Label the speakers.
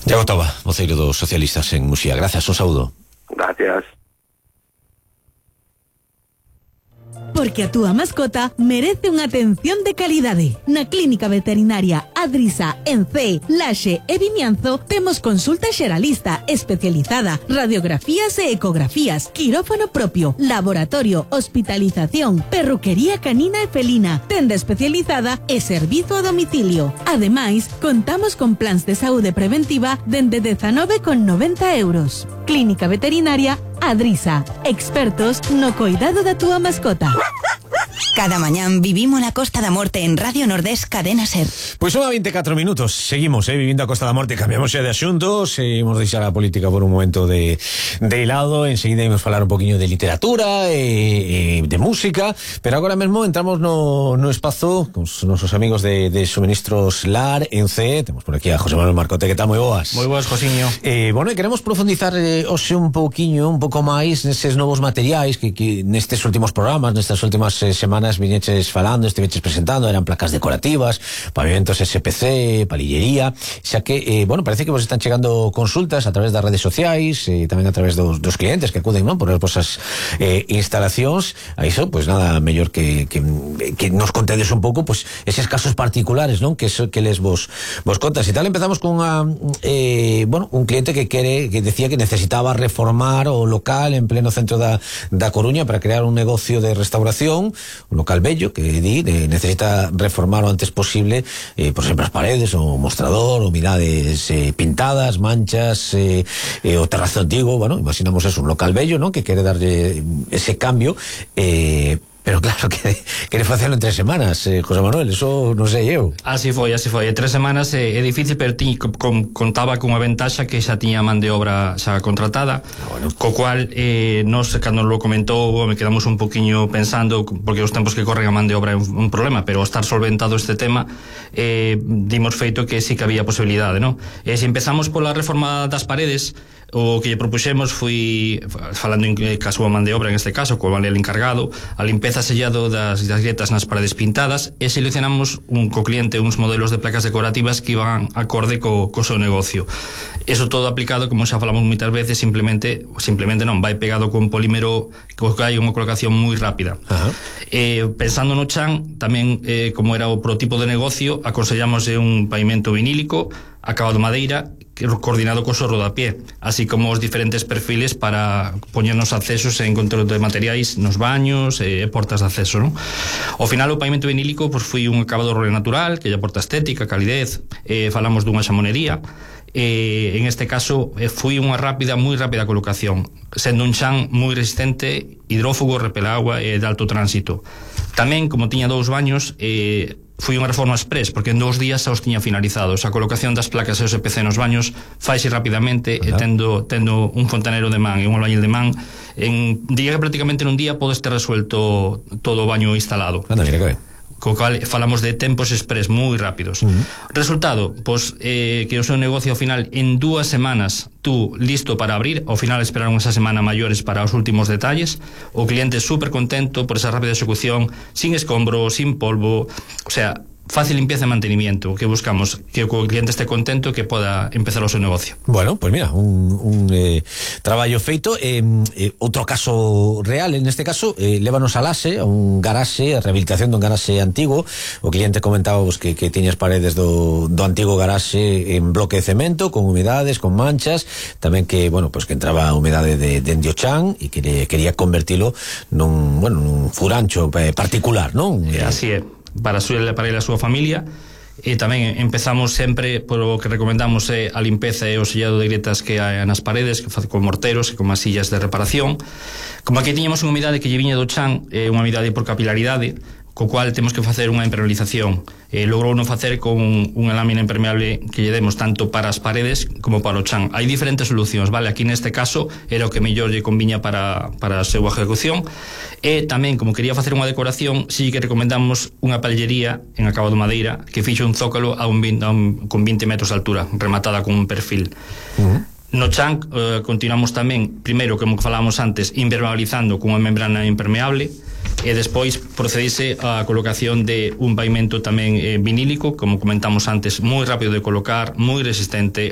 Speaker 1: Iago Toba, voceiro dos socialistas en Muxía. Gracias, un saúdo.
Speaker 2: Gracias.
Speaker 3: Porque a túa mascota merece unha atención de calidade. Na Clínica Veterinaria Adrisa, en Cee, Laxe e Vimianzo temos consulta xeralista especializada, radiografías e ecografías, quirófano propio, laboratorio, hospitalización, perruquería canina e felina, tenda especializada e servizo a domicilio. Ademais, contamos con plans de saúde preventiva dende 19,90 euros. Clínica Veterinaria Adrisa, expertos no coidado da túa mascota.
Speaker 4: Cada mañán vivimos la Costa da Morte en Radio Nordés Cadena Ser.
Speaker 1: Pois son a 24 minutos. Seguimos, vivindo a Costa da Morte. Cambiamos xa de asuntos. Imos deixar a política por un momento de lado. Enseguida imos falar un poquinho de literatura e de música. Pero agora mesmo entramos no espazo con os nosos amigos de Suministros Lar en Cee. Temos por aquí a José Manuel Marcote. Que tal? Moi boas.
Speaker 5: Moi boas, Josiño.
Speaker 1: Bueno, queremos profundizar hoxe un pouco máis neses novos materiais que nestes últimos programas, nestas últimas semanas viñeches falando, estiveches presentando, eran placas decorativas, pavimentos SPC, palillería, xa que, parece que vos están chegando consultas a través das redes sociais, tamén a través dos clientes que acuden, non, por as vosas instalacións. A iso, pois nada mellor que nos contedes un pouco, pois, eses casos particulares, non, que les vos contas. E tal, empezamos con un cliente que decía que necesitaba reformar o local en pleno centro da Coruña para crear un negocio de restauración, un local bello que necesita reformar o antes posible, por exemplo, as paredes, o mostrador, humidades pintadas, manchas, o terrazo antigo. Bueno, imaginamos eso, un local bello, ¿no?, que quere darlle ese cambio, pero claro, quere facelo en 3 semanas, José Manuel, eso non sei eu.
Speaker 5: Así foi, 3 semanas é difícil, pero contaba cunha ventaxa que xa tiña man de obra xa contratada, co cual nos, cando lo comentou, me quedamos un poquinho pensando, porque os tempos que corren a man de obra é un problema, pero ao estar solventado este tema, dimos feito que sí que había posibilidade, non? Se empezamos pola reforma das paredes, o que lle propuxemos foi, falando en caso a man de obra en este caso, co el encargado, a limpeza sellado das grietas nas paredes pintadas, e seleccionamos co cliente uns modelos de placas decorativas que iban acorde co seu negocio. Eso todo aplicado, como xa falamos moitas veces, simplemente non, vai pegado con polímero, que hai unha colocación moi rápida. Pensando no chan, tamén como era o prototipo de negocio, aconsellamos un pavimento vinílico acabado madeira, coordinado co sorro da pie, así como os diferentes perfiles para poñernos accesos en control de materiais nos baños e portas de acceso, non? Ao final, o pavimento vinílico foi un acabado natural que lle aporta estética, calidez, falamos dunha xamonería, en este caso foi unha moi rápida colocación, sendo un chan moi resistente, hidrófugo, repele agua e de alto tránsito. Tamén, como tiña 2 baños, foi unha reforma express, porque en 2 días xa os tiña finalizados. A colocación das placas SPC nos baños faise rapidamente, tendo un fontanero de man e un albañil de man, diría que prácticamente nun día podes ter resuelto todo o baño instalado.
Speaker 1: Mira que ben.
Speaker 5: Co cal falamos de tempos express moi rápidos. Resultado, que o seu negocio ao final en 2 semanas tú listo para abrir, ao final esperaron esa semana maiores para os últimos detalles, o cliente super contento por esa rápida execución, sin escombro, sin polvo, o sea, fácil limpieza e mantenimiento, que buscamos que o cliente esté contento, que poda empezar o seu negocio.
Speaker 1: Bueno, pues mira, un traballo feito. Outro caso real, en este caso, lévanos a Laxe, a un garaxe, a rehabilitación dun garaxe antigo. O cliente comentaba que tiñas paredes do antigo garaxe en bloque de cemento, con humedades, con manchas, tamén que, que entraba a humedade de Diochan, e que quería convertilo nun furancho particular, non?
Speaker 5: Así é, para ele e a súa familia. E tamén empezamos sempre polo que recomendamos a limpeza e o sellado de grietas que hai nas paredes, que con morteros e con masillas de reparación. Como aquí tiñamos unha humidade que lle viña do chan, unha humidade por capilaridade, co cual temos que facer unha impermeabilización. Logrou non facer con unha lámina impermeable que lle demos tanto para as paredes como para o chan. Hai diferentes solucións, vale? Aquí neste caso era o que mellor lle conviña para a súa ejecución. E tamén, como quería facer unha decoración, sí que recomendamos unha pallería en acabado madeira que fixo un zócalo con 20 metros de altura, rematada con un perfil. No chan continuamos tamén, primeiro, como falábamos antes, impermeabilizando con unha membrana impermeable, e despois procedise a colocación de un pavimento tamén vinílico, como comentamos antes, moi rápido de colocar, moi resistente